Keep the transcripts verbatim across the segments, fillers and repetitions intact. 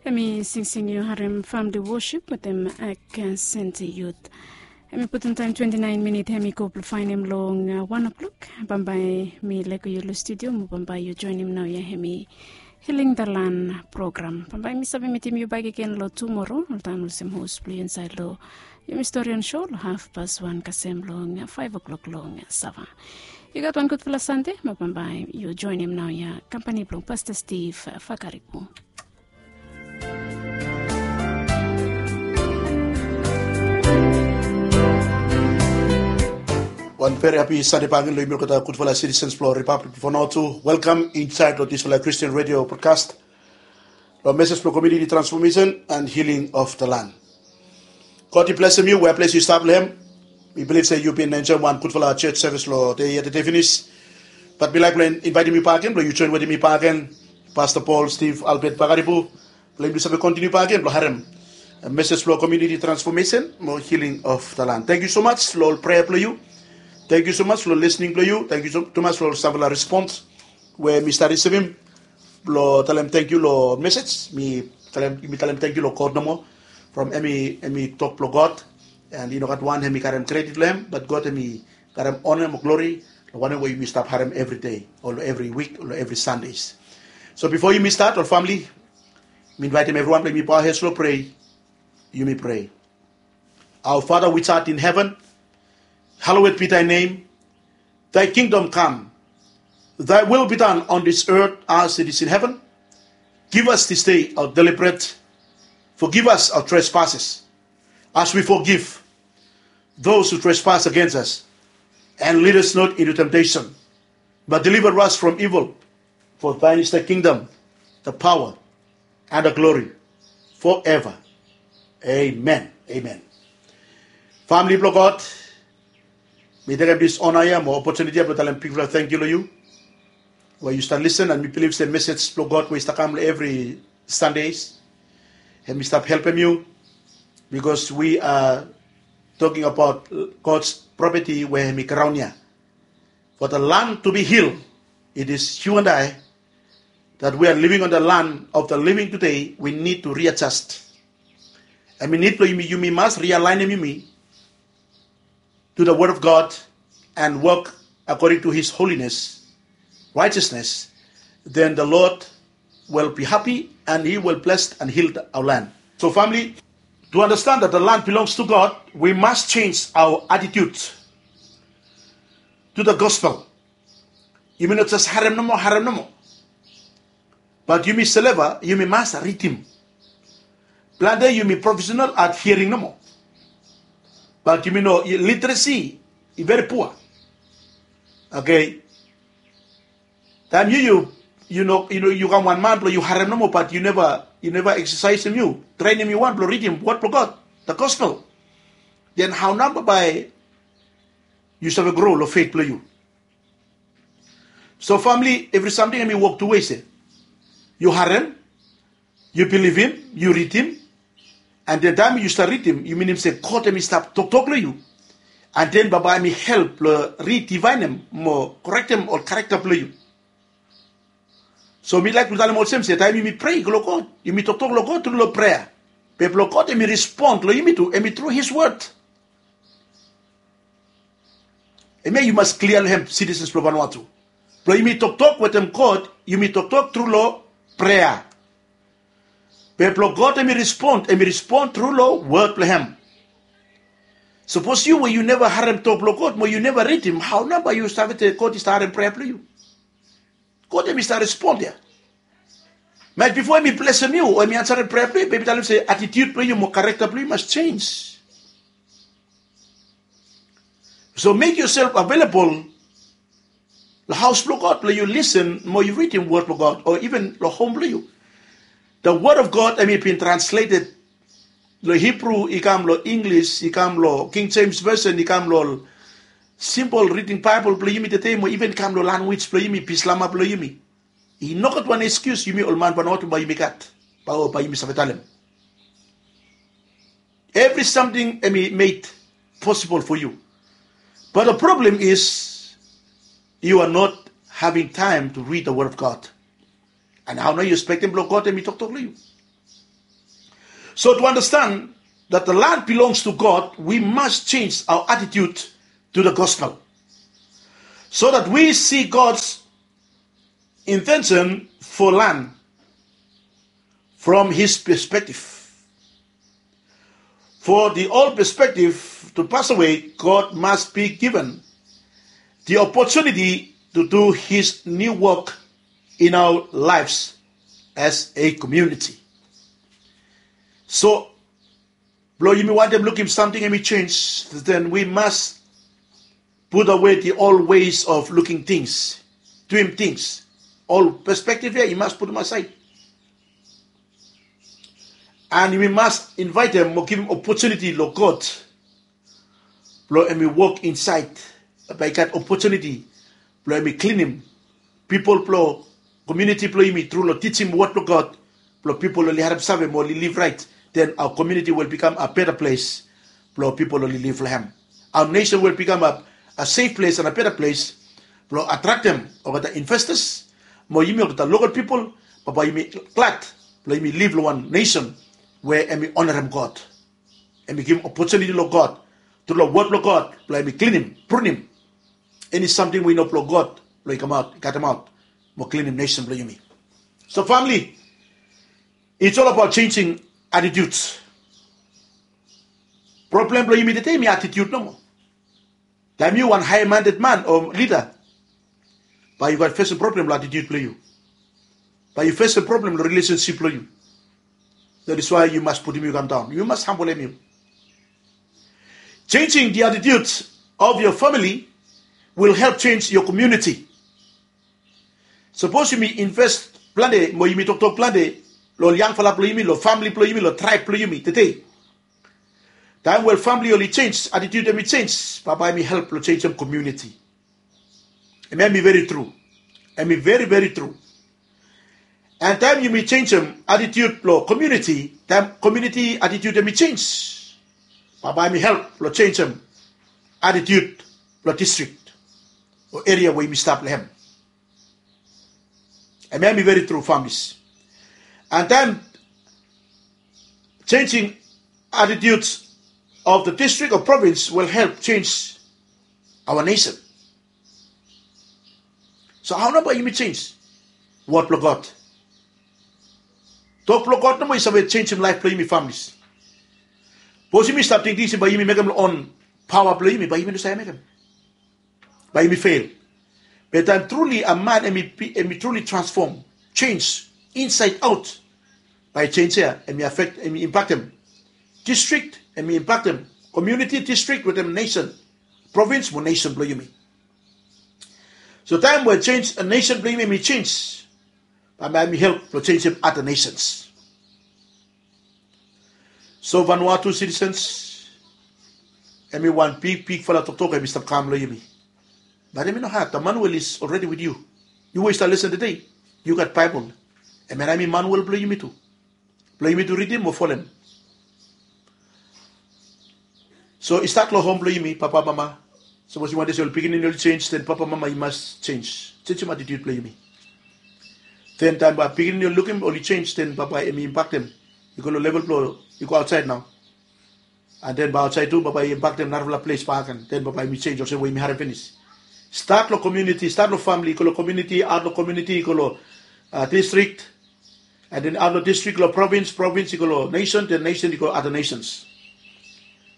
Em i singsing yu harim famili wosip wetem Ak Senti Yut. Em i putum taem twenti naen minit em i go blong faenem long wan oklok. Bambae mi laek yu long studio mo bambae yu joenem naoia em i Healing the Land program. Bambae mi save mitim yu bakegen long tumoro oltaem olsem hos blong yu insaed long yumi storian sho long hafpas wan kasem long faef oklok long sava. Yu gat wan gudfala Sande mo bambae yu joenem naoia kampani blong Pasta Steve Fakaripu. Wan veri hapi Sande bakegen long yumi olgeta gudfala sitisens blong Ripablik blong Vanuatu. Welkam insaed long disfala Kristen redio brodkas long mesej blong komuniti transfomesen and hiling of the land. God i blesem yu wea ples yu stap long hem. Mi bilif se yu bin enjoem wan gudfala jos sevis long dei yestede finis. Bat mi laek blong invaetem yu bakegen blong yu joen wetem mi bakegen, Pasta Paul Steve Albert Bakaripu, blong yumi save kontiniu bakegen blong harem mesej blong komuniti transfomesen mo hiling of the land. Tangkiu so maj long ol prea blong yu. Tangkiu so maj long lisning blong yu. Tangkiu tumas long ol samfala respons we mi stap risivim blong talem tangkiu long mesej. Mi talem, mi talem tangkiu long God nomo from em i, em i tok blong God. And i no gat wan em i karem kredit long em, bat God em i karem ona mo glori long wanem we yumi stap harem evri dei o long evri wik o long evri Sandes. So bifo yumi stat, ol famili, mi invaetem evriwan blong yumi bow hed long prea. Yumi prea. Our Father which art in heaven, hallowed be thy name. Thy kingdom come. Thy will be done on this earth as it is in heaven. Give us this day our daily bread. Forgive us our trespasses, as we forgive those who trespass against us. And lead us not into temptation, but deliver us from evil. For thine is the kingdom, the power, and the glory forever. Amen. Amen. Famili blong God, mi tekem dis ona ya mo opotuniti ya blong talem bigfala tangkiu long yu we yu stap lisen, and mi bilif se mesej blong God we i stap kam long evri Sandes, hem i stap helpem yu, bikos wi a toking abaot God's propeti we hem i graon ya. For the land to be healed, it is you and I that we are living on the land of the living today, we need to readjust. Hem i nid blong yumi, yumi mas rialaenem yumi to the word of God and work according to his holiness, righteousness, then the Lord will be happy and he will bless and heal our land. So family, to understand that the land belongs to God, we must change our attitude to the gospel. Yumi no jes harem nomo, harem nomo. Bat yumi sileva, yumi mas ritim. Plante yumi profesenal at hiaring nomo. Bat yumi no, literacy i veri pua. Oke. Taem yu, yu, yu no, yu no, yu kam wan man blong yu harem nomo, bat yu neva, yu neva eksasaesem yu, trenem yu wan blong ridim wod blong God, the gospel. Den hao nao bae yu save gro long fet blong yu? So famili, evri samting hem i wok tu wes ya. Yu harem, yu bilivim, yu ridim, and den taem yu stap ridim, yu minim se God hem i stap toktok long yu. And den bambae hem i help blong ridivaenem mo korektem ol karakta blong yu. So mi laek blong talem olsem se taem yumi prea long God, yumi toktok long God tru long prea. Be blong God hem i respon long yumi tu, hem i tru his word. Hemia yu mas klia long hem, sitisens blong Vanuatu. Blong yumi toktok wetem God, yumi toktok tru long prea. Be blong God hem i respon, hem i respon tru long wod blong hem. Sapos yu we yu neva harem tok blong God mo yu neva ridim, hao nao bae yu save se God i stap harem prea blong yu? God hem i stap respon ya. Maet bifo hem i blesem yu o hem i ansarem prea blong yu, bae hem i talem se atitiud blong yu mo karakta blong yu mas jenis. So mek yoself avelabol long haos blong God blong yu lisen mo yu ridim wod blong God, o iven long hom blong yu. The word of God hem i bin transleted long Hibru, i kam long Inglis, i kam long King James Version, i kam long ol simpol riding Baebol blong yumi tede, mo iven kam long lanwis blong yumi, Bislama blong yumi. I nogat wan ekskius yumi ol man Vanuatu bae yumi gat, bae, bae yumi save talem. Evri samting hem i med posibol fo yu. But the problem is, you are not having time to read the word of God. And hao nao yu ekspektem blong God hem i toktok long yu? So to understand that the land belongs to God, we must change our attitude to the gospel so that we see God's intention for land from his perspective. For the old perspective to pass away, God must be given the opportunity to do his new work in our lives as a community. So, blo yumi wantem lukim samting hemi change, then we must put away the old ways of looking things, doing things. Ol perspective ya i mas putum aside. And we must invite them mo givim opportunity lo God blo hemi work inside. Bae i gat opportunity blo hemi klinim pipol blo community blo yumi tru lo teaching word blo God, blo pipol oli harem save mo oli live right. Then our community will become a better place blo pipol oli live lo hem. Our nation will become a, a safe place and a better place blo attractem olgeta investors. Mo yumi olgeta local people, bae bae yumi glad blo yumi live lo wan nation we hemi honorem God. Hemi givim opportunity lo God tru lo word blo God blo hemi klinim, prunim eni samting we i no blo God blo i kamaot, i katemaot mo klinim nation blo yumi. So family, it's all about changing attitudes. Problem blo yumi tede hemi attitude nomo. Taem yu wan high-minded man o leader, bae yu gat fesem problem lo attitude blo yu. Bae yu fesem problem lo relationship blo yu. That is why yu mas putum yu kam daon. Yu mas hambolem yu. Changing the attitude of your family will help change your community. Sapos yumi invest plante mo yumi toktok plante lo ol yangfala blo yumi, lo famili blo yumi, lo traeb blo yumi tede. Taem we famili oli jenis, attitude hemi jenis, bae bae hemi help lo jenisim komuniti. Hemia hemi veri tru. Hemi veri veri tru. And taem yumi jenisim attitude blo komuniti, taem komuniti attitude hemi jenis, bae bae hemi help lo jenisim attitude blo distrik o eria we yumi stap lo hem. Hemia hemi veri tru, families. And taem changing attitudes of the district or province will help change our nation. So hao nao bae yumi jenis word blo God? Tok blo God nomo i save jenisim laef blo yumi, families. Sapos yumi stap tingting se bae yumi mekem lo on paoa blo yumi, bae yumi no save mekem. Bae yumi fail. Be taem truli a man hemi, hemi truli transfom, jenis insaed aot, bae jenis ia hemi afektem, hemi impaktem distrik, hemi impaktem komuniti, distrik wetem nesen, provins mo nesen blo yumi. So taem we jenis, a nesen blo yumi hemi jenis, bae hemi help lo jenisim ada nesens. So Vanuatu sitisens, hemi wan bigbigfala toktok hemi stap kam lo yumi. Be hemi no had. Emmanuel is already with you. Yu we yu stap lesen tede, yu gat Baebol. Hemia nao hemi Emmanuel blo yumi tu, blo yumi tu ridim mo folem. So i stat lo hom blo yumi, papa, mama. Sapos yu wantem se ol pikinini oli jenis, den papa, mama i mas jenis, jenisim attitude blo yumi. Den taem bae pikinini oli lukim oli jenis, den bae bae hemi impaktem i go lo level blo i go aotsaed nao. And den bae aotsaed tu bae bae i impaktem narafala ples bakegen. Den bae bae yumi jenis olsem we yumi harem finis. Stat lo komuniti, stat lo famili, i go lo komuniti, aot lo komuniti i go lo, a, distrik, and then aot lo distrik lo provins, provins i go lo nesen, den nesen i go ada nesens.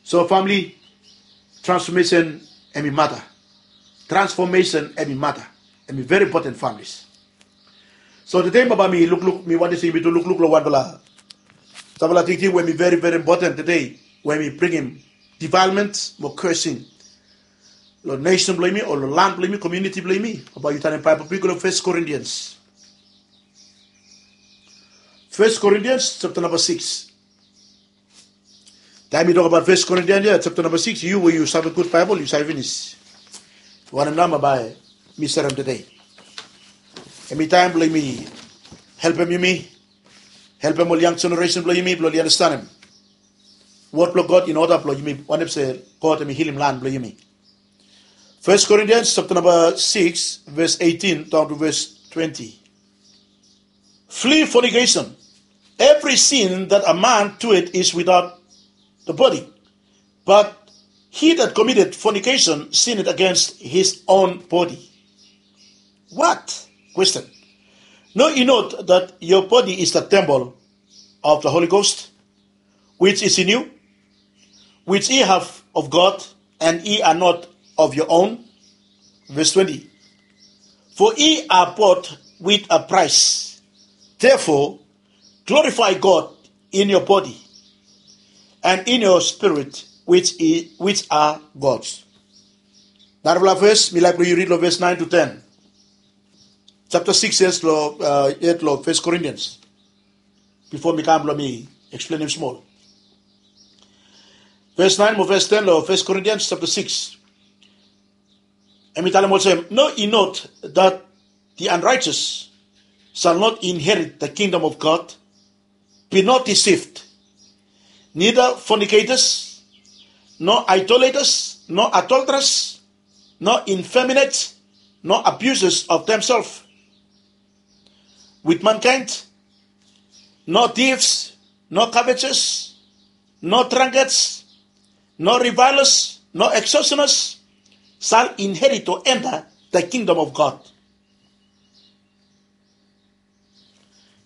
So famili, transfomesen hemi mata. Transfomesen hemi mata. Hemi veri impoten, families. So tede bae bae mi lukluk, mi wantem se yumi tu lukluk lo wanfala, samfala tingting we hemi veri veri impoten tede, we hemi bringim defilement mo cursing lo nesen blo yumi o lo lan blo yumi, komuniti blo yumi. Bae yu tanem Baebol blo yu go lo Fes Korintians. Fes Korintians japta namba sikis. Taem mi tokbaot Fes Korintians ia japta namba sikis, yu we yu save gud Baebol, yu save finis wanem nao bae mi serem tede. Hemi taem blo yumi helpem yumi, helpem ol yang jeneresen blo yumi blo oli andastanem wod blo God in oda blo yumi wantem se God hemi hilim lan blo yumi. Fes Korintians japta namba sikis, ves eitin daon tu ves twenti. Flee fornication. Every sin that a man doeth is without the body, but he that committeth fornication sinneth against his own body. What? Question. Know ye not that your body is the temple of the Holy Ghost, which is in you, which ye have of God, and ye are not of your own? Verse twenty. For ye are bought with a price. Therefore, glorify God in your body and in your spirit, which, i- which are God's. Narafala verse, mi laik blong yu rid long verse nine to ten. Chapter six, yes, lo, uh, yet lo First Corinthians. Before mi kam blong mi explain him small. Verse nine mo verse ten lo First Corinthians chapter six. Hemi talem olsem, know ye not that the unrighteous shall not inherit the kingdom of God? Be not deceived. Neither fornicators, nor idolaters, nor adulterers, nor effeminate, nor abusers of themselves with mankind, nor thieves, nor covetous, nor drunkards, nor revilers, nor extortioners shall inherit or enter the kingdom of God.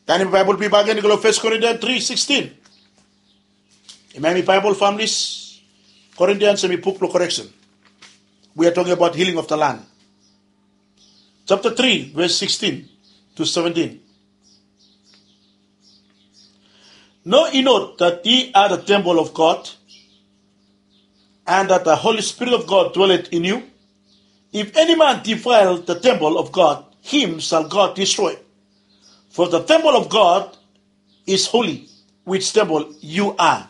Tanim Baibol blong yu bakegen i go long First Corinthians three sixteen. Hemi Baibol, families. Corinthians hemi buk blong correction. We are talking about healing of the land. Chapter three, verse sixteen to seventeen. Know ye not that ye are the temple of God, and that the Holy Spirit of God dwelleth in you? If any man defile the temple of God, him shall God destroy. For the temple of God is holy, which temple you are.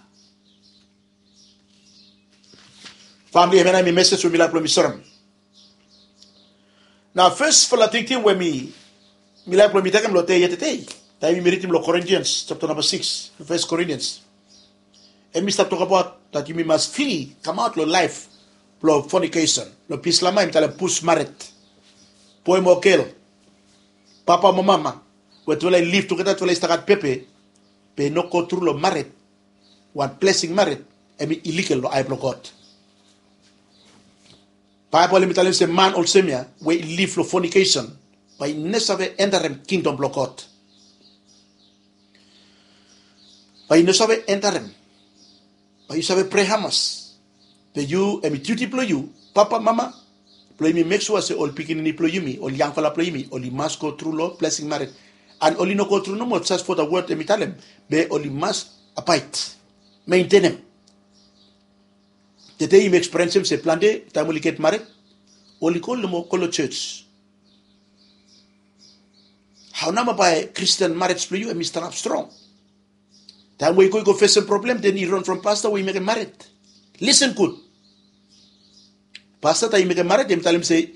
Family, hemia nao hemi message we mi laik blong mi serem. Nao fasfala tingting we mi mi laik blong mi tekem long dei yetede, taem yumi ridim long Corinthians chapter namba six, First Corinthians, hemi stap tokbaot that yumi mas fri kamaot long laef blong fornication, long Bislama hemi talem pus mared. Boe mo gel, papa mo mama, we tufala i liv tugeta, tufala i stap gat pepe, be i no go tru long mared, wan blesing mared, hemi illegal long ae blong God. Baebol hemi talem se man olsem ya we i liv long fornication, bae i no save enterem kingdom blong God. Bae i no save enterem. Bae yu save prea hamas, be yu, hemi duti blong yu, papa, mama, blong yumi mek sua se ol pikinini blong yumi, ol yangfala blong yumi, oli mas go tru long blesing mared. And oli no go tru nomo just for the word hemi talem, be oli mas abaed, mentenem. Tede yumi ekspiriensem se plante taem oli get mared, oli go nomo go long jos. Hao nao bae Christian marriage blong yu hemi stanap strong? Taem we i go i go fesem problem, then i ran from pasta we i mekem mared. Listen gud. Pasta taem i mekem mared, hemi talem se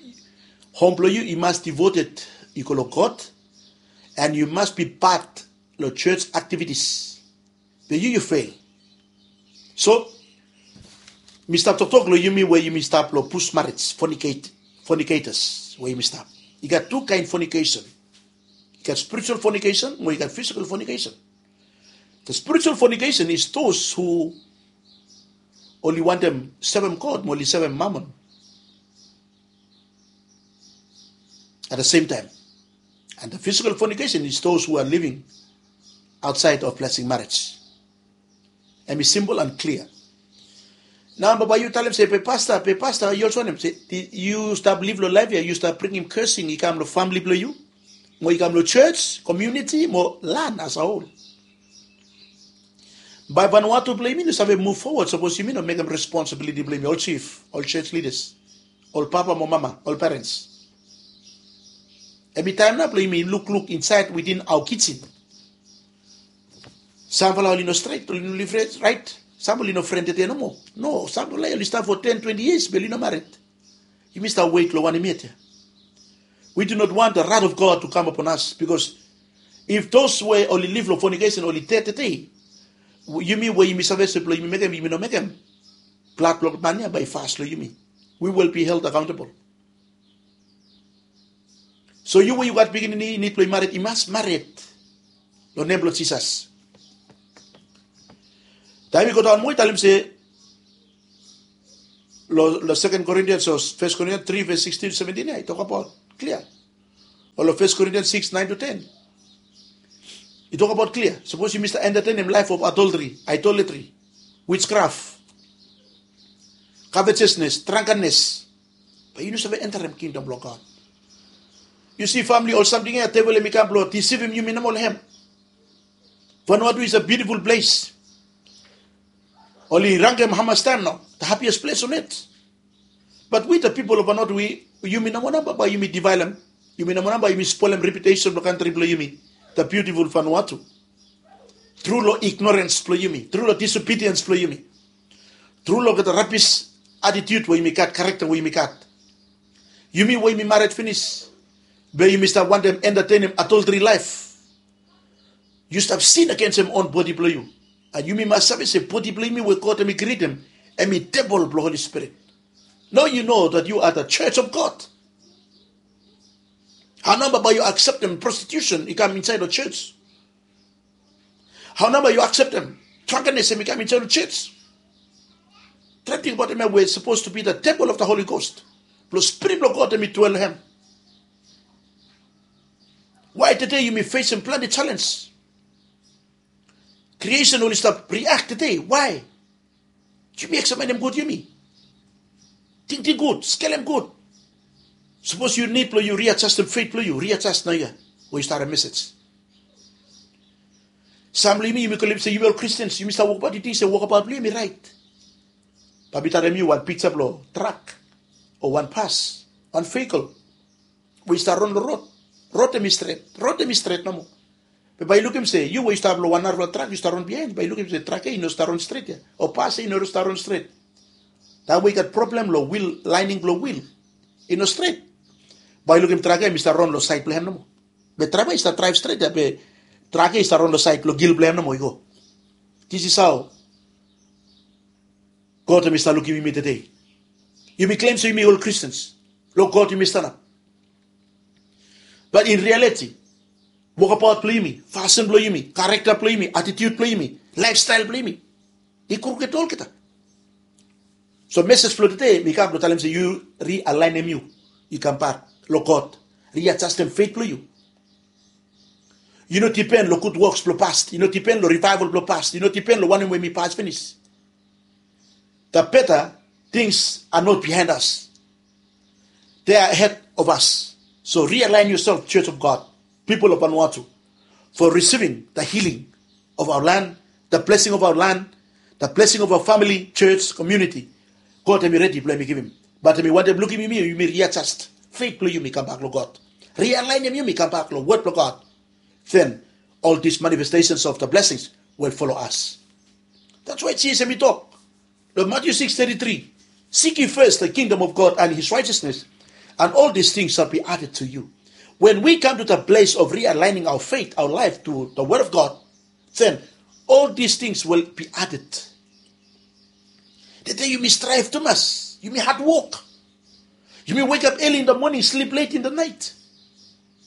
hom blong yu i mas devoted i go long God, and yu mas be part long jos activities. Be yu yu fail. So mi stap toktok long yumi we yumi stap long pus mared, fornicate, fornicators we yumi stap. I gat tu kaen fornication. I gat spiritual fornication mo i gat physical fornication. The spiritual fornication is those who oli wantem sevem God mo oli sevem mamon at the same time. And the physical fornication is those who are living outside of blessing marriage. Hemi simple and clear. Nao bae yu talem se, be pasta, be pasta, yu olsem wanem se yu stap liv long laef ya, yu stap bringim cursing i kam long famili blong yu, mo i kam long jos, community mo land as a whole. Bae Vanuatu blong yumi no save move forward sapos yumi no mekem responsibility blong yumi, ol chief, ol jos leaders, ol papa mo mama, ol parents. Hemi taem nao blong yumi lukluk insaed within our kitchen. Samfala oli no stret, oli no liv raet. Sam oli no fren tede nomo. No, samfala oli stap for ten, twenty years be oli no mared. Yumi stap wet long wanem yet ya? We do not want the wrath of God to come upon us, because if those we oli liv long fornication oli ded tede, yumi we yumi save se blong yumi mekem, yumi no mekem, blad blong man ya bae i fas long yumi. We will be held accountable. So yu we yu gat pikinini i nid blong i mared, i mas mared long nem blong Jisas. Em i go daon moa i talem se long Second Corinthians o First Corinthians three verse sixteen to seventeen ya i tok abaot klia. O long First Corinthians six nine to ten i tok abaot klia. Sapos yumi stap entertainem laef of adultery, idolatry, witchcraft, covetousness, drunkenness, bae yu no save enterem kingdom blong God. Yu si famili, ol samting ya devil hem i kam blong disivim yumi nomo long hem. Vanuatu is a beautiful place. Oli rangem hamas taem nao, the happiest place on earth. But we the people of Vanuatu, yumi nomo nao bae yumi divaelem, yumi nomo nao bae yumi spolem reputesen blong kantri blong yumi, the beautiful Vanuatu, tru long ignorens blong yumi, tru long disobediens blong yumi, tru long olgeta rabis atitiut we yumi gat, karekta we yumi gat. Yumi we yumi mared finis, be yumi stap wantem entertainem adultery laef. Yu stap sin agensem on bodi blong yu. And yumi mas save se bodi blong yumi we God hem i krietem, hem i tempol blong Holi Spirit. Nao yu know that you are the church of God. Hao nao bae yu akseptem prostitution i kam insaed long church? Hao nao bae yu akseptem drunkenness hem i kam insaed long church? Try ting abaot hem ya we sapos to be the temple of the Holy Ghost, blong Spirit blong God hem i dwell long hem. Why tede yumi fesem plante jalenj? Creation oli stap react tede. Why? Yumi eksaminim gud yumi. Tingting gud, skelem gud. Sapos yu nid blong yu riajastem feit blong yu, riajas naoia we yu stap harem mesej. Sam long yumi, yumi go lem se yumi ol Kristians, yumi stap wokbaot, yu ting se wokbaot blong yu hem i raet. Bae mi talem yu wan piksa blong trak o wan pas, wan vehikel we i stap ron long rod. Rod hem i stret, rod hem i stret nomo. Be bae yu lukim se yu we yu stap long wan narafala trak, yu stap ron biaen, bae yu lukim se trak ya i no stap ron stret ya, o pas ya i no stap ron stret. Taem we i gat problem long wil, laening blong wil i no stret, bae yu lukim trak ya hem i stap ron long saed blong hem nomo. Be draeva i stap draev stret ya, be trak ya i stap ron long saed blong gil blong hem nomo i go. This is how God hem i stap lukim yumi tede. Yumi klem se yumi ol Kristians, long God yumi stanap. But in reality, wokbaot blong yumi, fasin blong yumi, karekta blong yumi, atitiut blong yumi, laefstael blong yumi, i kruked olgeta. So mesej blong tede mi kam blong talem se yu rialaenem yu, yu kambak long God, riajastem feit blong yu. Yu no dipen long gud woks blong pas, yu no dipen long rivaeval blong pas, yu no dipen long wanem we mi pas finis. The better things are not behind us. They are ahead of us. So realign yourself, Church of God, people of Vanuatu, for receiving the healing of our land, the blessing of our land, the blessing of our family, church, community. God hem i redi blong hem i givim. But hem i wantem lukim yumi, yumi riajast feit blong yumi kambak long God. Rialaenem yumi kambak long wod blong God. Then all these manifestations of the blessings will follow us. That's why Jisas hem i tok long Matthew six thirty-three, "Seek ye first the kingdom of God and his righteousness, and all these things shall be added to you." When we come to the place of realigning our faith, our life to the word of God, then all these things will be added. Tede yumi strive tumas, yumi hard work, yumi wake up early in the morning, sleep late in the night.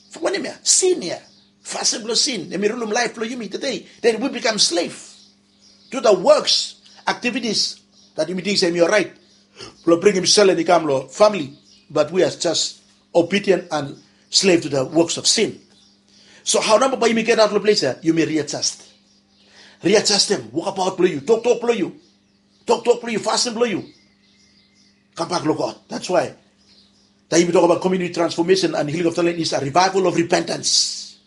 From wanem ya? Sin ya. Fasin blong sin hem i rulum laef blong yumi tede. Then we become slave to the works, activities that yumi ting se hem i oraet blong bringim selen i kam long famili. But we are just obedient and slave to the works of sin. So hao namba bae yumi getaot long ples ya? Yumi riajast. Riajastem wokbaot blong yu, toktok blong yu, toktok blong yu, fasin blong yu. Kambak long God. That's why taem yumi tokbaot community transformation and healing of the land is a revival of repentance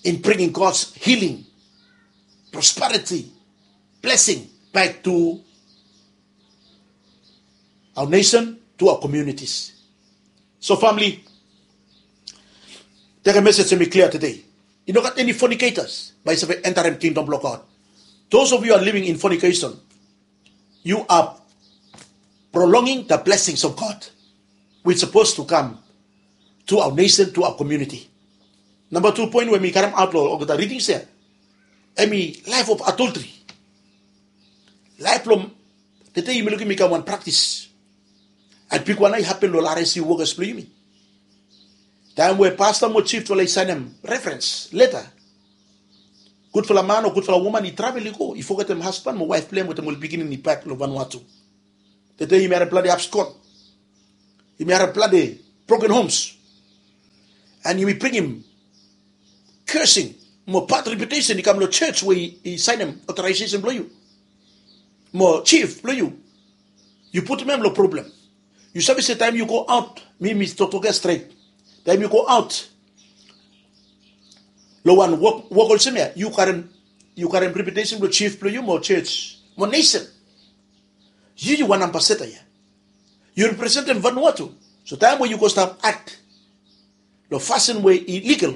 in bringing God's healing, prosperity, blessing back to our nation, to our communities. So famili, tede mesej hem i klia tede. I no gat eni fornicators bae i save enterem kingdom blong God. Those of you are living in fornication, you are prolonging the blessings of God which supposed to come to our nation, to our community. Namba tu poen we mi karemaot long olgeta ridings ya, hem i laef of adultery. Laef blong tede yumi lukim i kam wan praktis. And bigwan nao i hapen long ol R S C wokas blong yumi. Taem we pasta mo jif oli saenem referens leta Gudfala man o gudfala woman i travel i go, i fogetem hasban mo waef blong hem wetem ol pikinini bak long Vanuatu. Tede yumi harem plante abskon. Yumi harem plante broken homes. And yumi bringim cursing mo bad reputation i kam long church we i sainem authorization blong yu mo chief blong yu. Yu putum hem long problem. Yu save se taem yu go aot, mi mi toktok ya stret, taem yu go aot long wan wok olsem ya, yu karem reputation blong chief blong yu mo church mo nesen. Yu yu wan ambasada ya. Yu representem Vanuatu. So taem we yu go stap ak long fasin we i ligal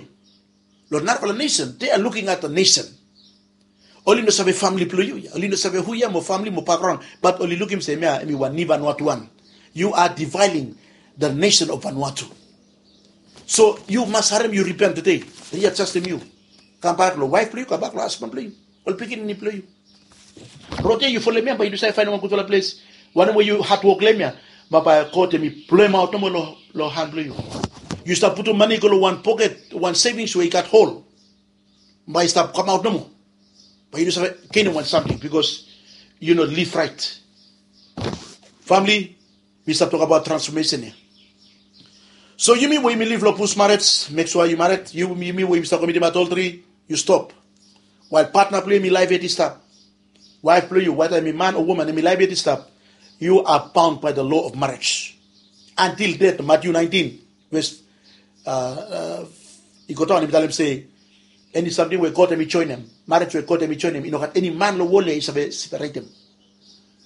long narafala nesen, they are looking at the nation. Oli no save famili blong yu ya, oli no save hu ya mo famili mo bakgraon, bat oli lukim se hemia hem i wan ni Vanuatuan. You are defiling the nation of Vanuatu. So yu mas harem yu ripen tede, riajastem yu. Kambak long waef blong yu, kambak long hasban blong yu, ol pikinini blong yu. Rod ya yu folem ya bae yu no save faenem wan gudfala ples. Wanem we yu hadwok long hem ya, ma bae God hem i bloemaot nomo long han blong yu. Yu stap putum mane i go long wan poket, wan sevings we i gat hol, bae i stap kamaot nomo. Bae yu no save genem wan samting bikos yu no liv raet. Famili, mi stap tokabaot transfomesen ya. So yumi we yumi liv long bus marej, mek sua yu mared. Yumi we yumi stap komitim adoltri, yu stop. Wael patna blong yu hem i laef yet i stap, waef blong yu, weda hem i man o woman, hem i laef yet i stap, you are bound by the law of marriage. Until death, Matthew nineteen, ves i go daon hem i talem se, eni samting we God hem i joenem, marej we God hem i joenem, i no gat eni man long wol ya i save separetem.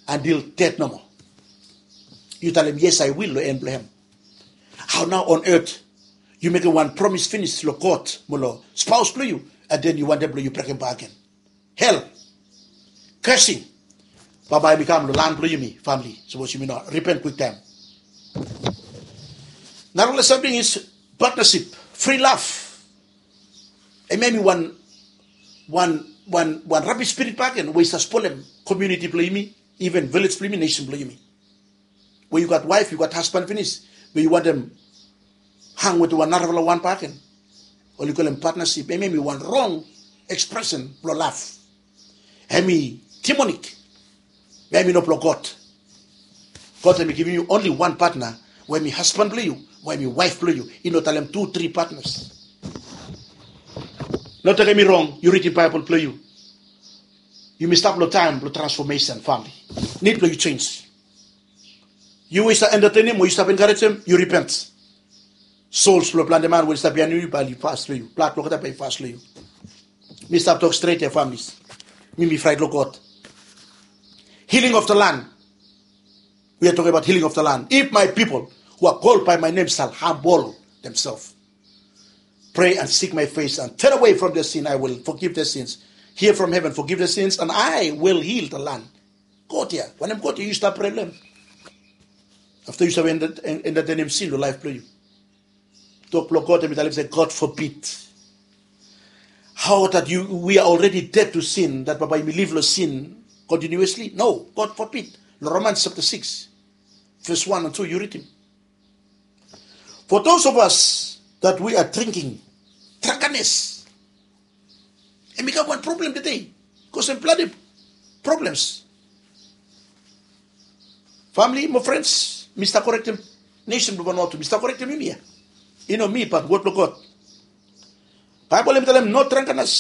Until death nomo. Yu talem yes I will long en blong hem. Hao nao on earth yu mekem wan promis finis long God mo long spaos blong yu, and then yu wantem blong yu brekem bak gen? Hel, cursing, bambae hem i kam long lan blong yumi famili sapos yumi no ripen kwiktaem. Narafala samting is partnership, free love. Hemia hem i wan wan wan wan rabis spirit bak gen we i stap spolem komuniti blong yumi, even vilej blong yumi, nesen blong yumi. We yu gat waef, yu gat hasban finis, be yu wantem hang wetem wan narafala wan bak gen. Oli kolem patnasip, hemia hem i wan rong ekspresen blong lav. Hem i demonik. Be hem i no blong God. God hem i givim yu onli wan patna, we hem i hasban blong yu, we hem i waef blong yu. I no talem tu tri patnas. No tekem mi rong, yu ridim Baebol blong yu. Yumi stap long taem blong transfomesen, famili. Nid blong yu jenis. Yu we yu stap entetenem o yu stap enkarejem, yu ripent. Sols blong plante man we oli stap biaen yu bae oli fas long yu. Blad blong olgeta bae i fas long yu. Mi stap tok stret ya, familis. Mi mi fraet long God. Healing of the land. We are talking about healing of the land. If my people who are called by my name shall humble themselves, pray and seek my face and turn away from their sin, I will forgive their sins. Hear from heaven, forgive their sins, and I will heal the land. God ya, wanem God ya yu stap prea long hem? Afta yu stap entetenem sin long laef blong yu. Tok blong God hem i talem se, God forbid. How that you, we are already dead to sin, that bambae yumi liv long sin continuously? No, God forbid. Long Romans chapter six, verse one and two, yu ridim. For those of us that we are drinking, drunkenness, hem i gat wan problem tede. Bikos hem plante problems. Famili mo frens, mi stap korektem nesen blong Vanuatu, mi stap korektem yumi ya. I no mi, bat wod blong God. Baebol hem i talem, no drunkenness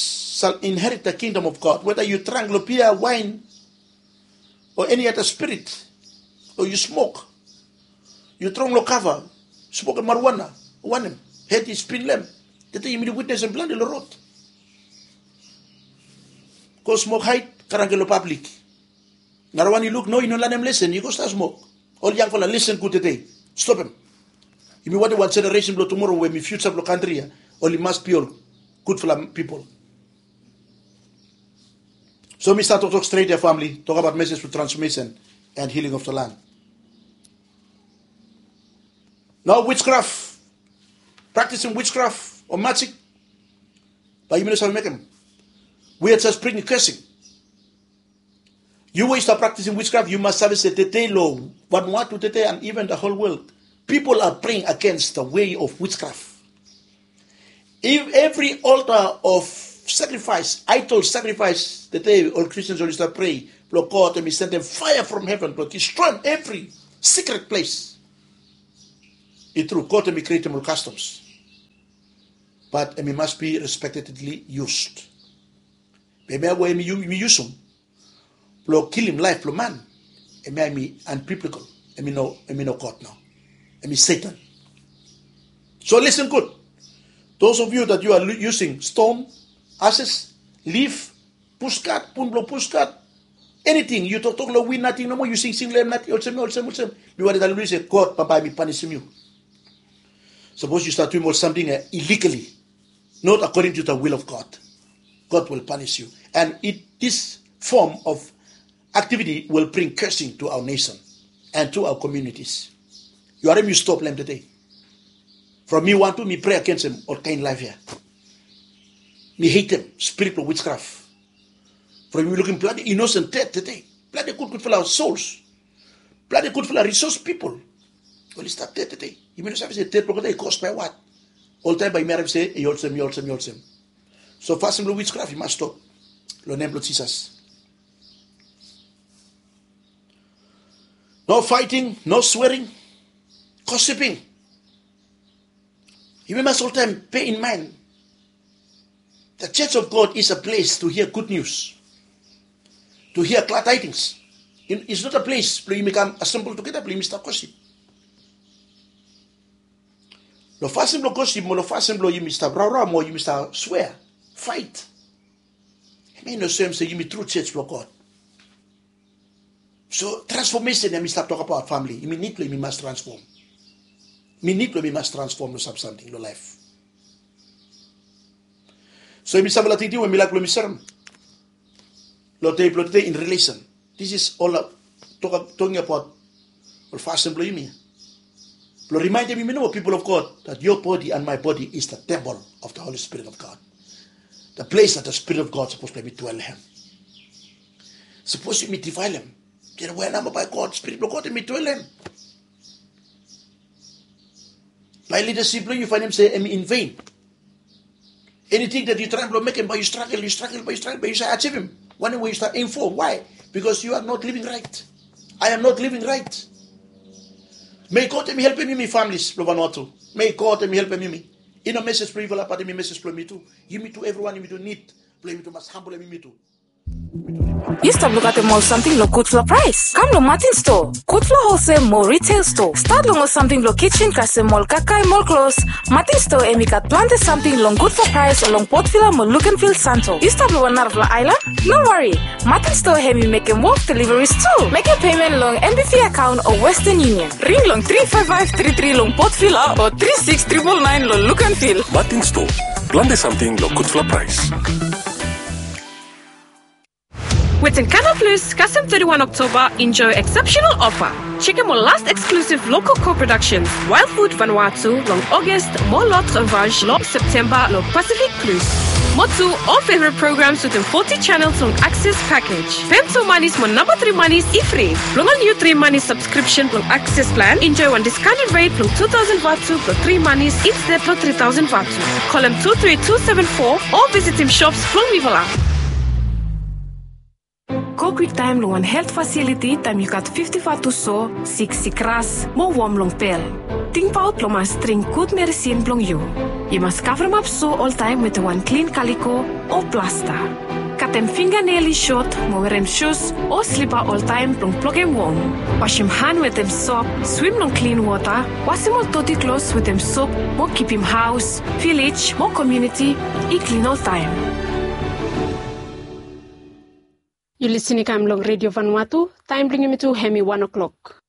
shall inherit the kingdom of God. Weda yu drang long bia, waen, o eni ada spirit, o yu smok, yu trong long kava, smokem marijuana, wanem, hed i spin long hem. Tede yumi witnesem plante long rod. Go smok haed, karangke long pablik. Narawan i luk, no, i no lanem lesen, i go stap smok. Ol yangfala, lesen gud tede. Stopem. Yumi wantem wan jeneresen blong tumoro we hem i fiuja blong kantri ya, oli mas bi ol gudfala pipol. So mi stap toktok stret ya, famili, tokbaot mesej blong transfomesen and healing of the land. Nao witchcraft, practicing witchcraft o magic, bae yumi no save mekem. We are just bringing cursing. Yu we yu stap practicing witchcraft, yu mas save se tede long Vanuatu tede and even the whole world, people are praying against the way of witchcraft. If every altar of sacrifice, idol sacrifice, tede ol Christians oli stap pray blong God hemi sendem fire from heaven blong destroyem evri secret place. I tru, God hemi createm ol customs, but hemi must be respectedly used. Be hemia we hemi yusum blong kilim laef blong man, hemia hemi unbiblical. Hemi no, hemi no God nao. Hemi Satan. So listen good. Those of you that you are using stone, ashes, leaf, pushcart, pun blong pushcart, anything, yu toktok long win nating nomo, yu singsing long hem nating, olsem, olsem, olsem. Mi wari talem long yu se God bambae hemi panisim yu. Sapos yu stap duim ol samting illegally, not according to the will of God, God will punish you. And it, this form of activity will bring cursing to our nation and to our communities. Yu harim, yu stop long hem tede. From mi wantu mi pray agensem ol kaen laef ya. Mi hatem spirit blong witchcraft. From yumi lukim planti innocent ded tede, planti gudgudfala souls, planti gudfala resource pipol oli stap ded tede. Yumi no save se ded blong olgeta i kos bae wat. Oltaem bae yumi harim se i olsem, i olsem, i olsem. So fasin blong witchcraft i mas stop long nem blong Jisas. No fighting, no swearing, gossiping. Yumi mas oltaem bear in mind that church of God is a place to hear good news, to hear glad tidings. It's not a place blong yumi kam assemble together blong yumi stap gossip. Long fasin blong gossip mo long fasin blong yumi stap rawraw mo yumi stap swear, fight, hemia i no soem se yumi tru church blong God. So transformation ya mi stap tokbaot, famili, yumi nid blong yumi mas transform. Mi nid blong yumi mas transform long sam samting long laef. So yumi stap long tingting we mi laik blong mi serem long dei blong tede in relation. This is all toking about ol fasin blong yumi blong rimaendem yumi nomo, people of God, that your body and my body is the temple of the Holy Spirit of God. The place that the Spirit of God sapos blong yumi dwell long hem. Sapos yumi difaelem, we namba bae God, Spirit blong God hemi dwell long hem, bae lidasip blong yu yu faenem se hemi in vain. Anything that yu traem blong mekem, bae yu stragel, yu stragel, bae yu stragel, bae yu save ajivim wanem we yu stap aim for. Why? Because you are not living right. I am not living right. May God hemi helpem yumi, families blong Vanuatu. May God hemi helpem yumi. I no message blong yufala, but hemi message blong mi tu. Yumi tu, evriwan yumi tu nid blong yumi tu mas hambolem yumi tu. Yu stap lukaotem ol samting long gudfala praes? Kam long Martin Store, gudfala wholesale mo retail store. Stat long ol samting blong kitchen kasem ol kakae mo ol klos. Martin Store hemi gat plante samting long gudfala praes long Port Vila mo Luganville, Santo. Yu stap long wan narafala aelan? No wari, Martin Store hemi mekem wok deliveries tu. Mekem payment long N B V account o Western Union. Ring long tri five five tri tri long Port Vila o tri six triple nine long Luganville. Martin Store, plante samting long gudfala praes. Wetem Canal Plus, kasem thirty-one October, enjoy exceptional offer. Chekem ol last exclusive local co-productions, Wild Food Vanuatu long August mo L'Autre Vache long September long Pacific Plus. Mo tu, ol favorite programs wetem forty channels long Access package. Pem tu manis mo namba tri manis i fri. Blong ol niu tri manis subscription blong Access plan, enjoy wan discounted rate blong two thousand vatu blong tri manis instead blong three thousand vatu. Kolem two three two seven four o visitim shops blong mifala. Go kwiktaem long wan helt fasiliti taem yu gat fifti vatu so, sik sikras mo wom long bel. Tingbaot long mas dring gud meresin blong yu. Yu mas kavremap so oltaem wetem wan klin kaliko o plasta. Katem finganel i sot mo werem sus o slipa oltaem blong blokem wom. Wasem han wetem sop, swim long klin wota, wasem ol doti klos wetem sop mo kipim haos, vilej mo komuniti i klin oltaem. Yu lisin i kam long Redio Vanuatu, taem blong yumi tu hemi wan o'clock.